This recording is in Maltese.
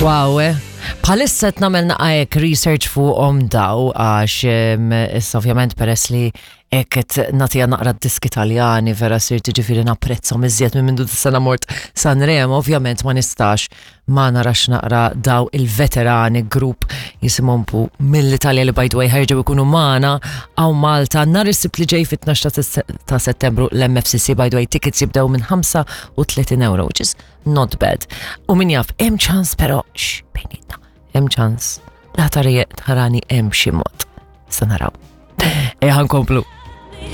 Wow, eh? Bħalissa qed nagħmel naqa' hekk research fuqhom daw għax issa ovvjament peress li hekk qed nagħtiha naqra d-diski Taljani vera sirt ġifieri napprezzhom iżjed minn mindu sena mort Sanremo, ovvjament ma nistax ma narax naqra daw il-veterani grupp jisimhom pu mill-Italja li by the way ħerġew ikunu magħna hawn Malta nhar is-Sibt li ġej fit-12 ta' Settembru l-MFCC by the way tickets jibdew minn 35 euro, which is not bad. U min jaf, hemm ċans però, x, bejnietna, hemm ċans. La tarani hemm xi mod. Sa naraw. Ejja nkomplu.